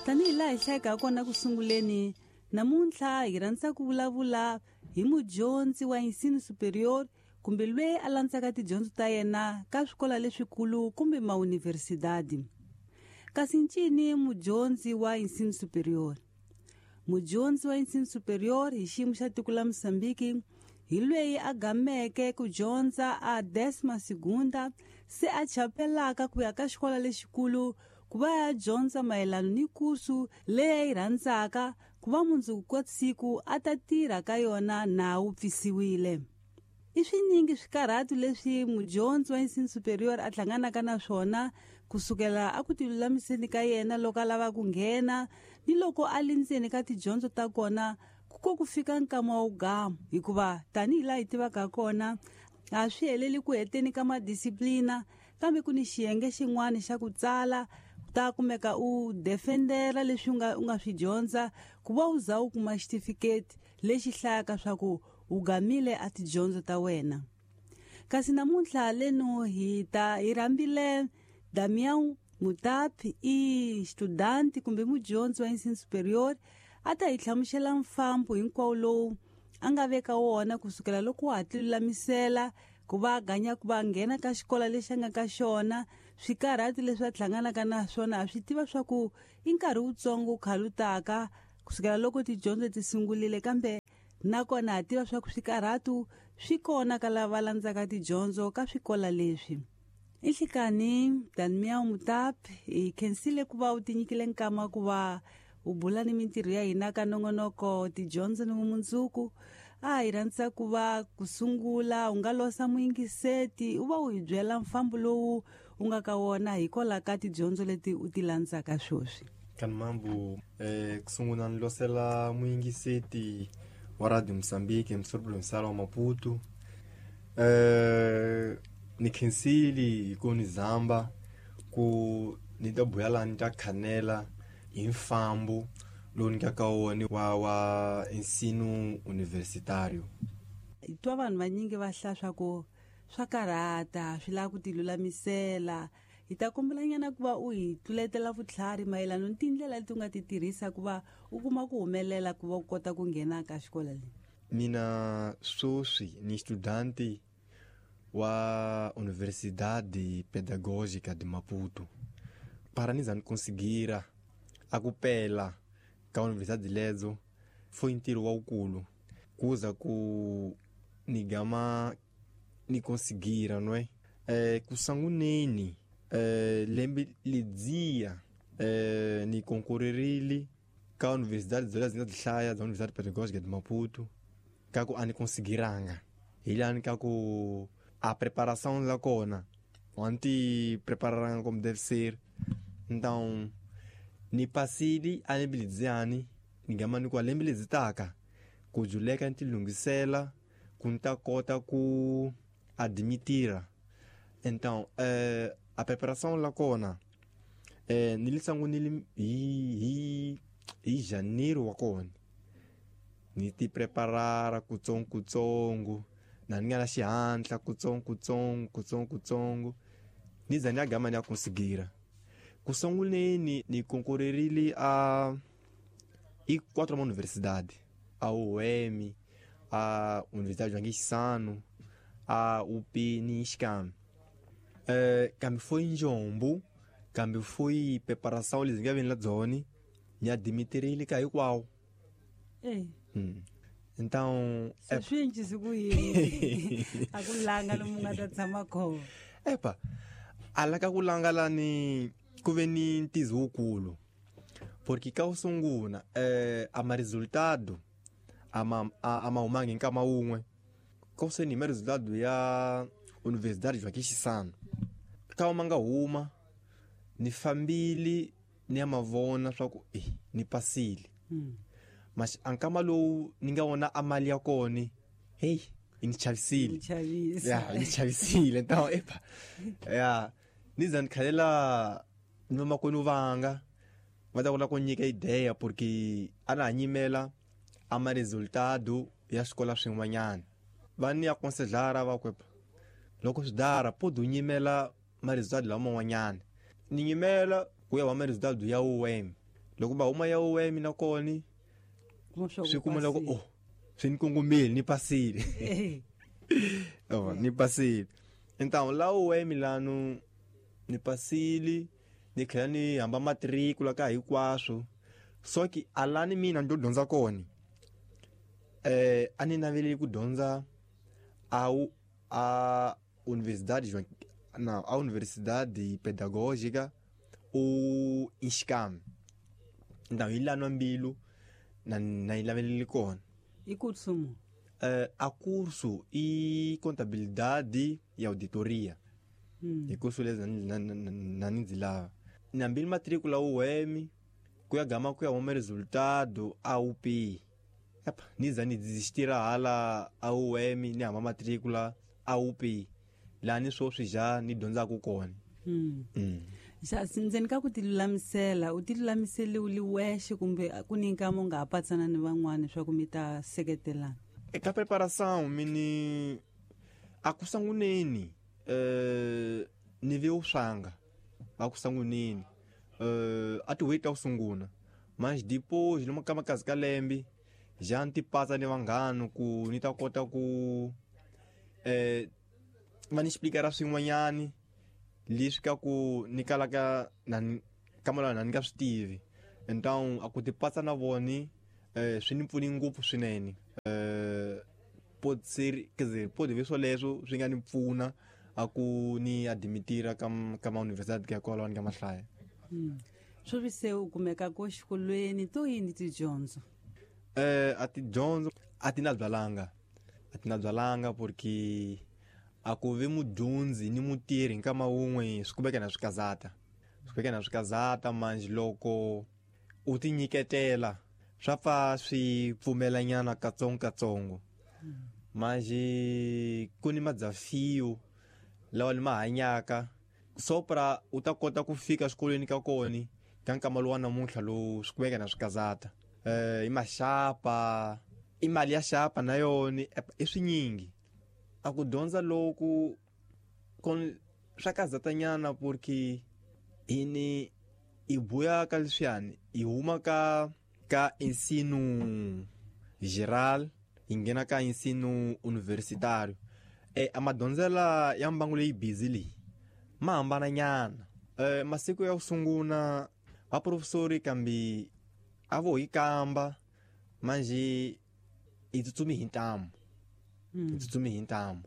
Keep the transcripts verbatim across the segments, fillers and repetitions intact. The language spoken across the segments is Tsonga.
Tanihi laha hi hlayaka kona ku sunguleni, namuntlha hi rhandza ku vulavula hi mudyondzi wa ensino superior kumbe loyi a landzaka tidyondzo ta yena ka swikolo leswikulu kumbe mauniversidadi. Kasi ncini mudyondzi wa ensino superior? Mudyondzi wa ensino superior hi xiyimo xa tiko la Mozambique hi loyi a gameke ku dyondza a décima segunda se a chapelaka ku ya ka xikolo lexikulu ku va ya dyondza mayelana ni kursu leyi a yi rhandzaka ku va mundzuku ka siku a ta tirha ka yona na wu pfisiwile. I swinyingi swikarhatu leswi mudyondzi wa ensino superior a hlanganaka na swona kusukela a ku tilulamiseni ka yena loko a lava ku nghena ni loko a li ndzeni ka tidyondzo ta kona ku ko ku fika nkama wa wugamu, hikuva tanihi laha hi tivaka kona a swi heleli ku heteni ka madisiplina, kambe ku ni xiyenge xin'wana xa ku tsala ta kumeka u defendera leswi u nga u nga swi dyondza ku va u za u kuma xitifiketi lexi hlayaka swa ku u gamile a tidyondzo ta wena. Kasi namuntlha leno hi ta hi rhambile Damião Mutapi, i studanti kumbe mudyondzi wa ensino superior, a ta hi hlamusela mfambo hinkwawo lowu a nga veka wona kusukela loko wa ha tilulamisela ku va a ganya ku va nghena ka xikolo lexi a nga ka xona, swikarhati leswi a hlanganaka na swona a swi tiva swa ku i nkarhi wutsongo wu khalutaka kusukela loko tidyondzo ti sungurile, kambe nakona ha tiva swa ku swikarhatu swi kona ka lava landzaka tidyondzo ka swikola leswi. I nhlikani Damião Mutapi, hi khensile ku va u tinyikile nkama ku va u bula ni mintirho ya hina ka nongonoko tidyondzo ni vumundzuku. A hi rhandza ku va ku sungula u nga losa muyingiseti u va u hi byela mfambo lowu u nga ka wona hikwalaho ka tidyondzo leti u ti landzaka sweswi. Kanimambu, eh, ku sungula ni losela muyingiseti wa Radio Mozambique, Emissora Provincial wa Maputo. Eh, ni khensile hi ku ni zamba ku ni ta buya laha ni ta khanela hi mfambo lowu ni nga ka wona wa wa ensino universitário. Hi twa vanhu vanyingi va hlaya swa ku swa karhata, swi lava ku tilulamisela. Hi ta kombelanyana ku va u hi tluletela vutlhari mayelana ni tindlela leti u nga ti tirhisa ku va u kuma ku humelela ku va u kota ku nghena ka xikolo leyi. Mina sweswi ni studanti wa Universidade Pedagógica de Maputo. Para ni za ni conseguir a ku pela ka universidade lezo foi ntirho wa wukulu kuza ku ni gama ni conseguir, não é? É, kusanguneni é, lembe lidzia é, ni concorrerile ka universidade zola zi nga ti hlaya za Universidade Pedagógica de Maputo ka ku a ni conseguiranga hi lani ka ku a preparação la kona a ni ti prepararanga como deve ser. Então ni pasile a lembe ledziani ni gama ni ku a lembe ledzi taka ku juleka ni ti lunghisela ku ni ta kota ku admitira. Então eh, a preparação la kona eh, ni li sangunile hi hi hi janeiro wa kona ni ti preparara kutsongo kutsongo na ni nga na xihatla kutsongo kutsongo kutsongo kutsongo ni za ni ya gama ni ya conseguira. Ku sunguleni ni concorrerile a i quatro universidade, a U M, a Universidade João Chissano, a U P ni Xicam. Eh, kambe foi njombo, kambe foi preparação lezi nga veni la dzoni, ni admitirile ka hinkwawo. Eh. Hum. Então, se swi encisi ku yini? A ku langa lomu nga ta tshama kona. Epa, ala ka ku langa lani ku ve ni ntizo wukulu. Porque ka wu sungula, eh, a ma resultado ama a, ama humangi nkama wun'we. Ka se ni ma resultado ya Universidade Joaquim Chissano. Ka ma nga huma ni fambile ni ya mavona swa ku eh ni pasile. Mm. Mas a nkama lowu ni nga vona a mali ya kona, hey, yi ni chavisile. Ni chavisa. Ya, yi ni chavisile. Então, epa. Ya, ni za ni khalela ni vamakwenu vanga va ta kota ku nyika ideia porque a na ha nyimela a ma resultado ya swikolo swin'wanyana. Va ni aconselhar va ku loko swi dara pode u nyimela ma-resultado laman'wanyana. Ni nyimela ku ya va ma-resultado ya U M. Loko va huma ya U M na kona swi kuma loko oh swi ni kongomile ni pasile. Oh, ni pasile. Então la U M lano ni pasile ni tlhela ni hamba matricula ka hinkwaswo. Só que alani mina ndo dyondza kona eh a ni naveleli ku dyondza a a Universidade João, não, a Universidade Pedagógica ou ISCAM. Então hi lano mbilu na na yi kona. E curso mo? Eh, a curso e contabilidade e auditoria. Hum. E curso lezi na na ndzi lava. Na mbili matrícula U M ku ya gama ku ya huma resultado a U P. Epa, niza ni desistira hala a U M ni hamba matrícula a U P. La ni swoswi ja ni dyondzaka kona. Mm. Mm. Xa ndzeni ka ku ti lulamisela, u ti lulamisele u li wexe kumbe ku ni nkama u nga ha patsana ni van'wana leswaku mi ta seketelana? Eka preparação mini a ku sanguneni eh ni ve uswanga a ku sanguneni eh a ti wait a sunguna mas depois numa kama kazi ka lembe já ni patsa ni vanghana ku ni ta kota ku eh va ni explicar swin'wanyani leswi ka ku ni kala ka na kamala na ni nga swi tivi. Então a ku ti patsa na voni eh swi ni pfuni ngopfu swinene. Eh pode ser, quer dizer, pode ver swoleswo swi nga ni pfuna a ku ni admitira ka ka ma universidade ka kwalaho ni nga mahlaya. Mm. Sweswi se u kumeka ko xikolweni to yini tidyondzo? Eh a tidyondzo a ti na byalanga. A ti na byalanga porque a ku ve mudyondzi ni mutirhi nkama wun'we swi kumeka na swikazata. Swi kumeka na swikazata manje loko u ti nyiketela swa pfa swi pfumelanyana katsongo katsongo. Manje ku ni madzafio lawa ni ma hanyaka so pra u ta kota ku fika xikolweni ka kona ka nkama lowu wa namuntlha lowu swi kumeka na swikazata. Eh i maxapa, i mali ya xapa na yona i swinyingi. A ku dyondza loku kon swa kazatanyana porque hini i buya ka leswiyani hi huma ka ka ensino geral hi nghena ka ensino universitário. Eh a madyondzela ya mbangu leyi busy leyi ma hambana nyana. Eh masiku ya ku sunguna va professori kambe a vo hi kamba manje hi tsutsumi hi ntamu. Mm. Tsutsumi hi ntamu.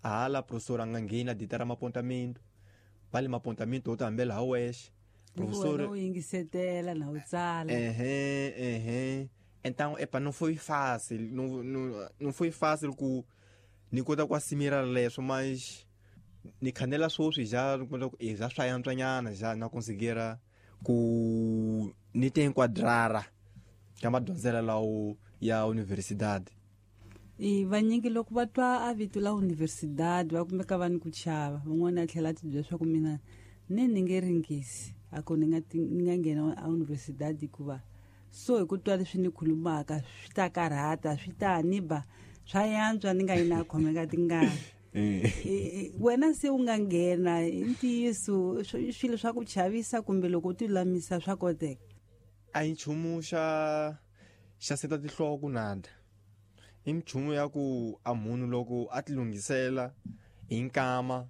A hala professor a nga ngheni a ditara mapontamento. Va le mapontamento u ta hambela ha wexe. Professor u yingisetela na u tsala. Ehe, ehe. Então, epa, não foi fácil, não, não, não foi fácil ku ni kota ku assimira leswo, mas ni khanela swoswi já já swa yantswanyana já na conseguira ku ni te enquadrara ka madyondzela lawo ya universidade. I vanyingi loko va twa a vito la universidade va kumeka va ni ku chava, van'wana a tlhela a ti byela leswaku mina ni ni nge ringisi a ku ni nga ni nga nghena a universidade hikuva so hi ku twa leswi ni khulumaka swi ta karhata, swi ta ni ba swa yantswa ni nga yi na khomeka tingana. Wena se u nga nghena i ntiyiso swilo swa ku chavisa kumbe loko u ti lulamisa swa koteka? A hi nchumu xa xa seta tinhloko nada. I nchumu ya ku a munhu loko a ti lunghisela hi nkama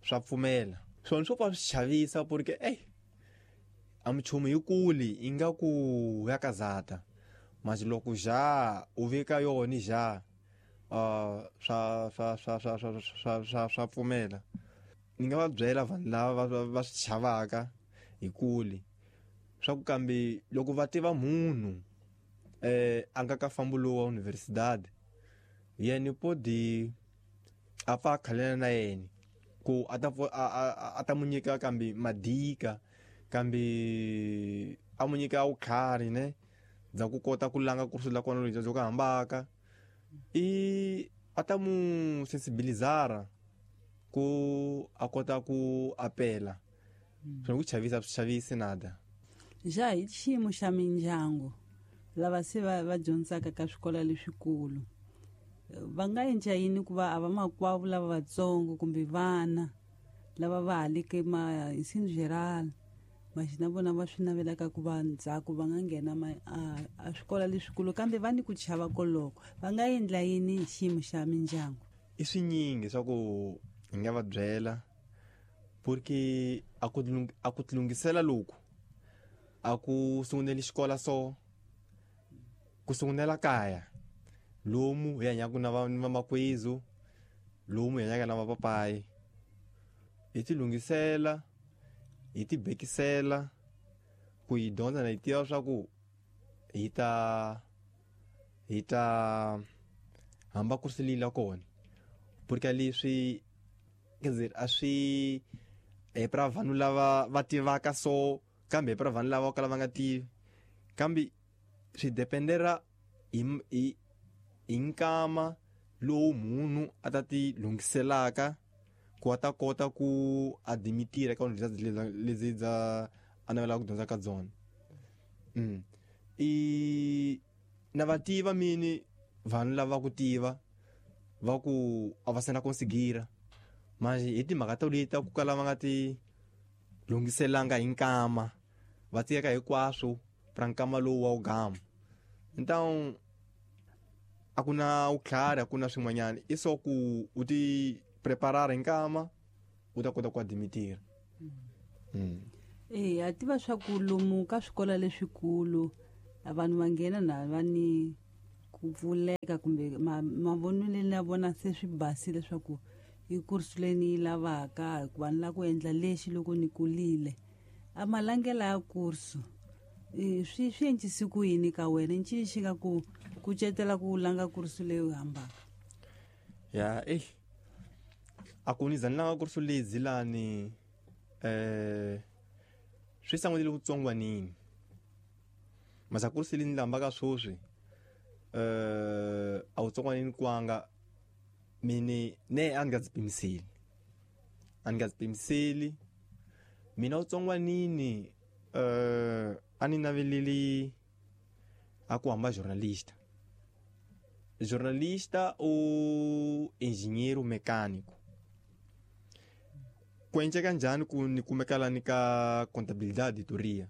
swa pfumela. Swona swo pfa swi chavisa porque ey a minchumu yi kuli yi nga ku ya kazata. Mas loko ja u veka yona ja uh swa swa swa swa swa swa swa swa pfumela. Ni nga va byela vanhu lava va va swi chavaka hi kuli swa ku kambe loko va tiva munhu eh a nga ka fambo lowu wa universidade yena podi a pfa a khalela na yena ku a ta a ta mu nyika kambe madika kambe a mu nyika vutlhari ne bya ku kota ku langa kursu la kona lebyi byo ka hambaka i a ta mu sensibilizara ku a kota ku apela. Swi ku chavisa swi chavisi nada. Ja hi xiyimo xa mindyangu lava se va va dyondzaka ka swikolo leswikulu Va nga endla yini ku va a va makwavo lava vatsongo kumbe vana lava va ha le ka ma ensino geral, maxi na vona va swi navelaka ku va ndzhaku va nga nghena ma, a, a swikolo leswikulu kambe va ni ku chava koloko, va nga endla yini hi xiyimo xa mindyangu? I swinyingi swa ku hi nga va byela, porque a ku tilung-, a ku tilunghisela loku a ku sunguneli xikolo so ku sungunela kaya lomu hi hanyaka na va-, na vamakwezu, lomu hi hanyaka na vapapayi, hi tilunghisela, hi tibekisela ku hi dyondza na hi tiva swa ku hi ta, hi ta hamba ku swi lila kona, porque leswi, quer dizer, a swi hi pra vanhu lava va tivaka so, kambe hi pra vanhu lava kala va nga tivi, kambe swi dependera hi, hi, hi nkama lowu munhu a ta ti lunghiselaka ku a ta kota ku adimitira ka universidade lezi bya a navelaka ku dyondza ka byona. Mm. I na va tiva mini vanhu lava ku tiva va ku a va se na conseguir, manje hi timhaka to leti ta ku kala va nga ti lunghiselanga hi nkama, va tiyeka hinkwaswo pra nkama lowu wa wu gama. Então a ku na vutlhari, a ku na swin'wanyana, i swo ku u ti preparar hi nkama u ta kota ku adimitira. Mm. Eh, a tiva swa ku lomu ka swikolo leswikulu vanhu va nghena na va ni ku pfuleka kumbe ma-, mavonelo ya vona se swi basile leswaku i kursu leyi ni yi lavaka, hikuva ni lava ku endla lexi loko ni kulile. A malangela ya kursu, eh, swi, swi endlise ku yini ka wena? Ncini xi nga ku kucetela ku langa kursu leyi u hambaka? Ya, eh, a ku ni za ni langa kursu leyi zilani, eh, swi sangulile vutsongwanini. Masa kursu leyi ni lambaka sweswi, eh, a vutsongwanini kwanga mini ne a ni nga ndzi pimiseli, a ni nga ndzi pimiseli. Mina vutsongwanini, eh, a ni naveleli a ku hamba jornalista, jornalista ou engenheiro mecânico. Ku endleka njhani ku ni kumeka lani ka contabilidade auditoria?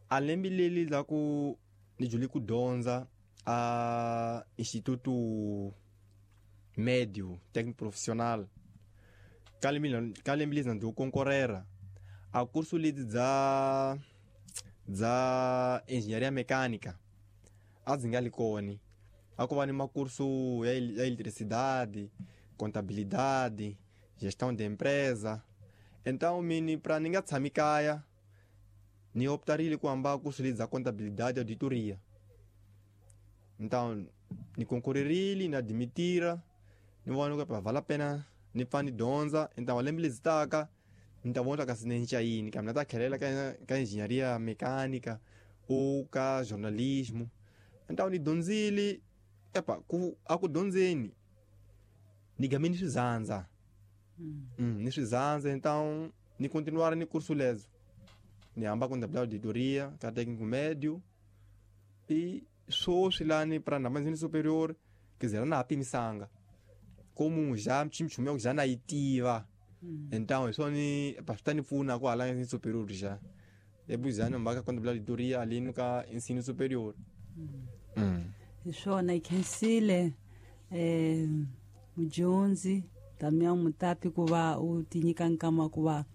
A lembe leli la ku ni dyondze ku dyondza a Instituto Médio Técnico Profissional, ka lembe leli, ka lembe leli ndzi konkorera a kursu leti bya, bya engenharia mecânica a ndzi nga li kona. A ku va ni makursu ya el-, ya eletricidade, contabilidade, gestão de empresa. Então mini pra ni nga tshami kaya ni optarile ku hamba kursu leti bya contabilidade auditoria. Então ni konkorerile, ni adimitira, ni vona ku vale a pena ni pfa ni dyondza. Então lembe leti taka ni ta vona kasi ni cinca yini, kambe na ta tlhelela ka, ka engenharia mecânica ou ka jornalismo. Então ni dyondzile, epa, ku, a ku dyondzeni ni game ni swizandza. Mm. Mm, ni swizandza. Então ni continuar ni curso lezo, ni hamba contabilidade auditoria ka técnico médio e sweswi lani pra na ensino superior, quer dizer, na pimisanga como já mchimchumia já na itiva. Mm. Então isso ni pa swi ta ni pfuna ku hala ensino superior já ebuzana mbaka contabilidade auditoria ali no ka ensino superior. Mm. Mm. Hi swona, hi khensile, eh, mudyondzi Damião Mutapi ku va u ti nyika nkama ku va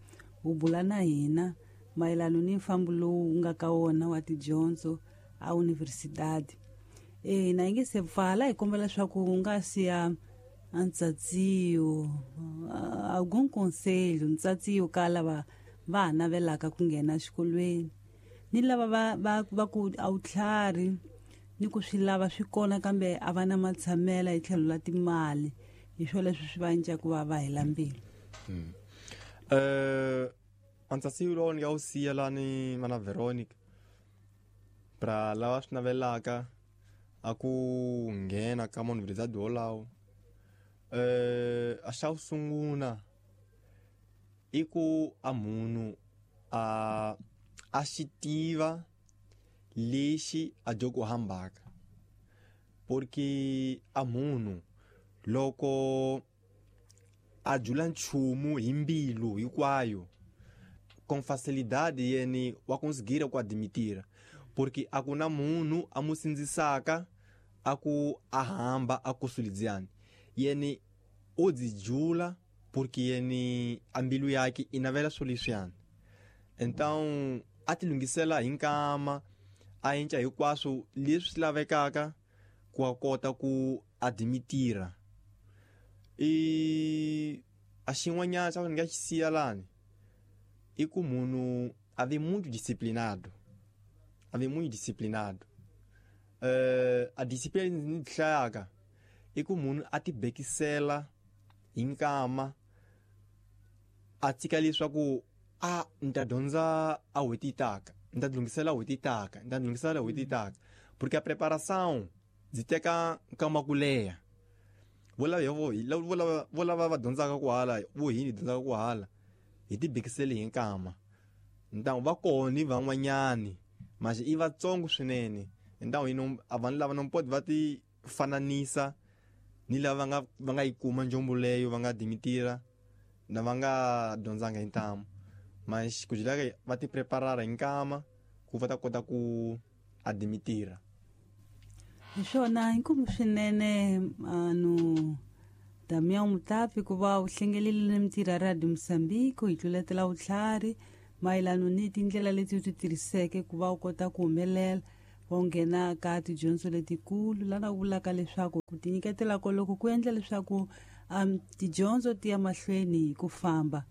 u bula na hina mayelana ni mfambo lowu nga ka wona wa tidyondzo a universidade. Eh, na hi nge se pfala, hi kombela leswaku u nga siya ntsatsiyo, algum conselho, ntsatsiyo ka lava va ha navelaka ku nghena exikolweni ni lava va, va, va ku a wu tlhari ni ku swi lava swi kona kambe a va na matshamela hi tlhelo la timali, hi swo leswi swi va endlaka ku va va hela mbilu. Mm. Eh, antsatsiyo lowu ni nga wu siya lani mana Veronica, pra lava swi navelaka a ku nghena ka universidade wolawo, eh, a xa ku sungula i ku a munhu a, a xi tiva lexi a dyo ku hambaka, porque a munhu Loko a jula nchumu hi mbilu hinkwayo com facilidade yene wa conseguir ku admitira, porque a ku na munhu a mu sindzisaka a ku a hamba a kusulidziani yene o dzijula porque yene a mbilu yake i navela swilo leswiyani. Então a ti lunghisela hi nkama a endla hinkwaswo leswi swi lavekaka ku a kota ku admitira. I a xin'wanyana xa ku ni nga xi siya lani i ku munhu a ve muito disciplinado, a ve muito disciplinado. Uh, a disciplina ni hlayaka i ku munhu a ti bekisela hi nkama a tshika leswaku a ni ta dyondza a n'hweti taka, ni ta lunghisela n'hweti taka, ni ta lunghisela n'hweti taka, porque a preparação byi teka nkama ku leha. Vo lava vo lava vo lava va dyondzaka ku hala vo hini dyondzaka ku hala hi ti bekiseli hi nkama. Então va kona van'wanyani mas i vatsongo swinene. Então ino a vanhu lava não pode va ti fananisa ni lava va nga va nga yi kuma njombo leyo va nga dimitira na va nga dyondzanga hi ntamu, mas ku jilaka va ti preparara hi nkama ku va ta kota ku adimitira. Hi swona inkomu swinene anu Damião Mutapi ku va u hlengelile mintirho ya Radio Moçambique hi tluletela vutlhari mayelana ni tindlela leti u ti tirhiseke ku va u kota ku humelela wa nghena ka tidyondzo letikulu lana u vulaka leswaku ku tinyiketela koloko ku endla leswaku um tidyondzo ti ya mahlweni hi ku famba.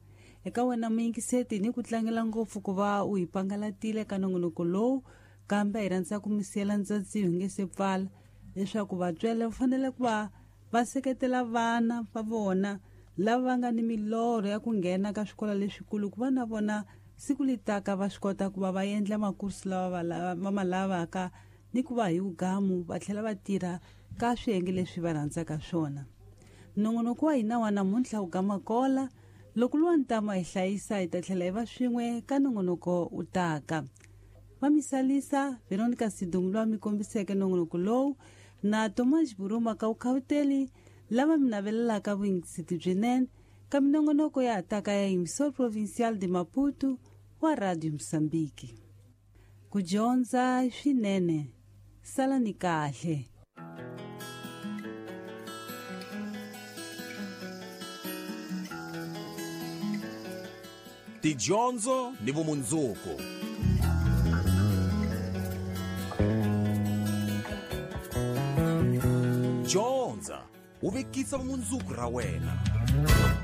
Eka wena muyingiseti ni ku tlangela ngopfu ku va u hi pangalatile ka nongonoko lowu, kambe hi rhandza ku mi siyela ntsatsi hi nge se pfala leswaku vatswari va fanele ku va va seketela vana va vona lava va nga ni milorho ya ku nghena ka swikolo leswikulu ku va na vona siku litaka va swi kota ku va va endla makursi lawa va ma lavaka ni ku va hi vugamu va tlhela va tirha ka swiyenge leswi va rhandzaka swona. Nongonoko wa hina wa namuntlha wu gama kola loko luwa ntama hi hlayisa hi ta tlhela hi va swin'we ka nongonoko wu taka. Va misalisa Veronica Sidungu loyi mi kombiseke nongonoko lowu na Thomas Buruma ka Vukhawuteli lava mi navelelaka vuyingiseti byinene ka minongonoko ya hataka ya Emissor Provincial de Maputo wa Radio Moçambique. Ku dyondza swinene, salani kahle. Tidyondzo ni vumundzuku. Dyondza u vekisa vumundzuku ra wena.